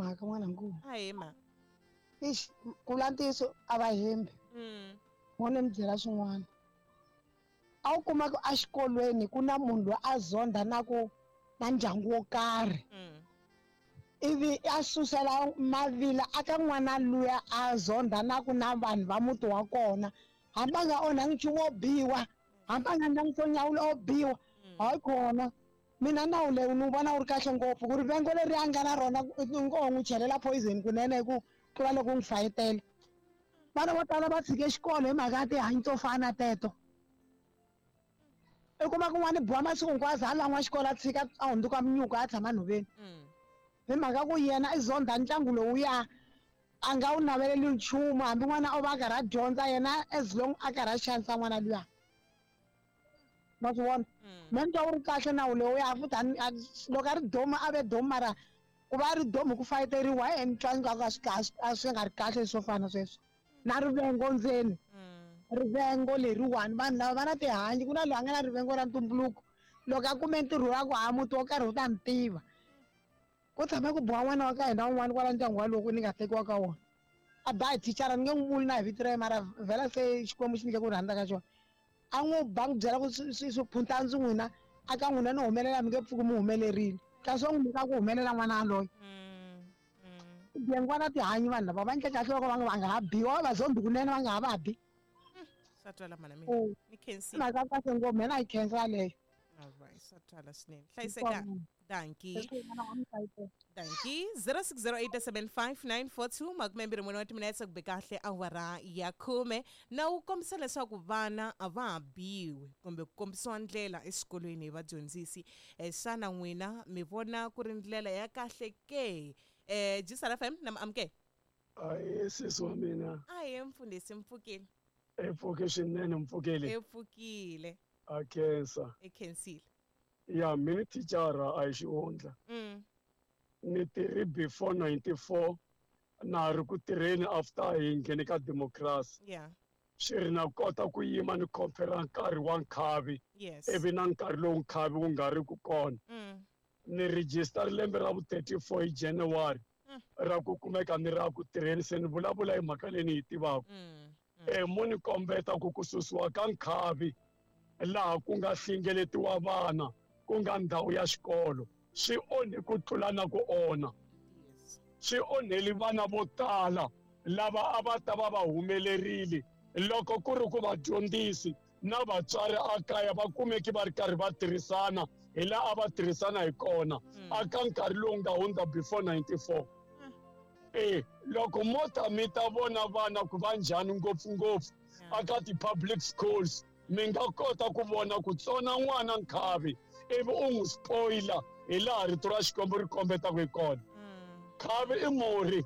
mhaka n'wanangu. Ahee ma. Ixi, ku vula ntiyiso a va hembi. Mo ni mi byela swin'wana. A wu kuma ku exikolweni ku na munhu loyi a zondha na ku na ndyangu wo karhi. Ivi a susela mavila aka n'wana luya a zondha na ku na vanhu va muti wa kona. Hambi a nga onhangi nchumu wo biwa, hambi a nga endlangi swo nyawula o biwa. Hayi kona. Mina nawu lewu ni wu vona wu ri kahle ngopfu ku rivengo leri a nga na rona ngo n'wi chelela poison kunene hi ku tlula loko u n'wi fayetela. Vana vo tala va tshike xikolo hi mhaka ya tihanyi to fana na teto. I kuma kun'wana biwa masiku hinkwawo a za a lan'wa xikolo a tshika a hundzuka munyuku a tshama nhoveni. Hi mhaka ku yena i zondha ntlangu lowuya a nga wu naveleli nchumu hambi n'wana o va a karhi a dyondza yena as long a karhi a xanisa n'wana luya. Ma swi vona? Me ni twa wu ri kahle nawu lowuya futhi loko a ri domu a ve domu mara ku va a ri domu hi ku fayeteriwa he ni twa ingaku a swi nga ri kahle swo fana sweswo. Na rivengo ndzeni. Rivengo leriwani vanhu lava va na tihanyi ku na loyi a nga na rivengo ra ntumbuluko loko a kume ntirho wa ku ha muti wo karhi wu ta ni tiva. Ku tshame ku biwa n'wana wa ka hina un'wana kwala ndyangu walowo ni nga tekiwa ka wona. A ba hi thicara ni nge n'wi vuli na hi vito ra yena mara vhela se Xikwembu xi nyike ku rhandza ka xona. A n'wi ba n'wi byela ku swiphunta ndzi n'wina a ka n'wina ni humelela mi nge pfuki mi humelerile. Kasi wa n'wi nyika ku humelela n'wana yaloye. Vugevenga na tihanyi vanhu lava va endle kahle loko va nga ha biwa va zombi kunene va nga ha va bi. Swa twala mana mina. Ni khensile. Mhaka kahle ngopfu mina yi khensa yaleyo. Alright, swa twala swinene. Hlayiseka. Dankie. Dankie. 06087594 24 wa timinetse ku be kahle awara ya khume na wu kombisa leswaku vana a va ha biwi kumbe ku kombisiwa ndlela exikolweni hi vadyondzisi. Xana n'wina mi vona ku ri ndlela ya kahle ke? Gisela FM na mi amukela. Ahee sesi wa mina. Ahee mfundhisi mpfukile. E pfuke swinene mpfukile. E pfukile. A khensa. E khensile. Ya mina thicara a hi xihundla. Ni tirhi before 94 na ha ri ku tirheni after hi nghene ka democracy. Swi ri na kota ku yima ni compare nkarhi wa nkhavi. Ivi na nkarhi lowu nkhavi wu nga ri ku kona. Ni register lembe ra vu 34 hi January ra ku kumeka ni ra ku tirheni se ni vulavula hi mhaka leyi ni yi tivaka. Mo ni kombeta ku ku susiwa ka nkhavi laha ku nga hlengeletiwa vana ku nga ndhawu ya xikolo swi onhe ku tlula na ku onha. Swi onheli vana vo tala lava a va ta va va humelerile loko ku ri ku vadyondzisi na vatswari a kaya va kumeki va ri karhi va tirhisana hi laha a va tirhisana hi kona aka nkarhi lowu nga hundza before 94. Loko mo ta mi ta vona vana ku va njhani ngopfungopfu aka ti-public schools mi nga kota ku vona ku tsona n'wana nkhavi ivi u n'wi spoiler hi laha rito ra Xikwembu ri kombetaka hi kona. Khavi i murhi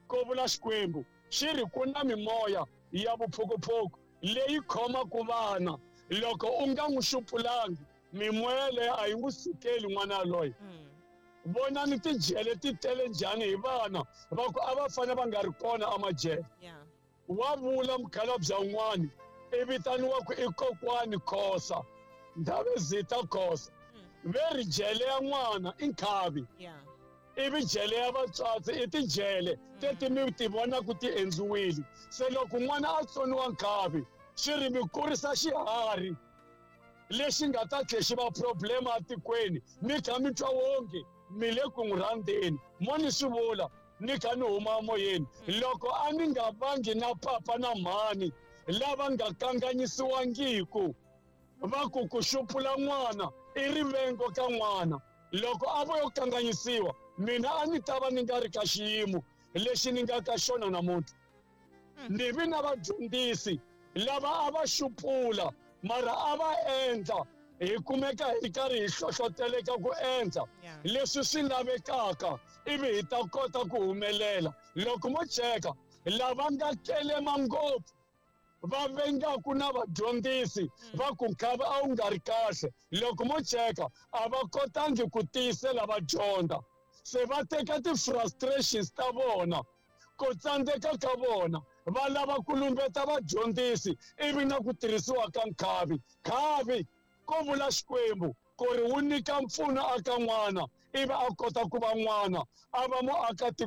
ko vula Xikwembu xi ri ku na mimoya ya vuphukuphuku leyi khomaka vana loko u nga n'wi xupulangi mimoya leyi a yi n'wi sukeli n'wana yaloye. Vonani tijele ti tele njhani hi vana va ku a va fanele va nga ri kona emajele. Wa vula mukhalabye un'wana i vitaniwa ku i kokwani Khosa Ndhavezitha Khosa ve ri jele ya n'wana i nkhavi ivi jele ya vatswatsi i tijele teti mi ti vonaka ti endliwile. Se loko n'wana a tsoniwa nkhavi swi ri mi kurisa xiharhi lexi nga ta tlhe xi va problema etikweni mi kha mi twa wonge mi le ku n'wi rhandzeni. Mo ni swi vula ni kha ni huma emoyeni loko a ni nga vangi na papa na mhani lava nga kanganyisiwangiku va ku ku xupula n'wana i rivengo ka n'wana. Loko a vo yo kanganyisiwa mina a ni ta va ni nga ri ka xiyimo lexi ni nga ka xona namuntlha. Ni vi na vadyondzisi lava a va xupula mara a va endla hi kumeka hi karhi hi hlohloteleka ku endla leswi swi lavekaka ivi hi ta kota ku humelela. Loko mo cheka lava nga kelema ngopfu va vengaku na vadyondzisi va ku nkhavi a wu nga ri kahle loko mo cheka a va kotangi ku tiyisela va dyondza se va teka ti-frustrations ta vona ku tsandzeka ka vona va lava ku lumbeta vadyondzisi ivi na ku tirhisiwa ka nkhavi. Khavi ko vula Xikwembu ku ri wu nyika mpfuno aka n'wana ivi a kota ku va n'wana a va muakatiko.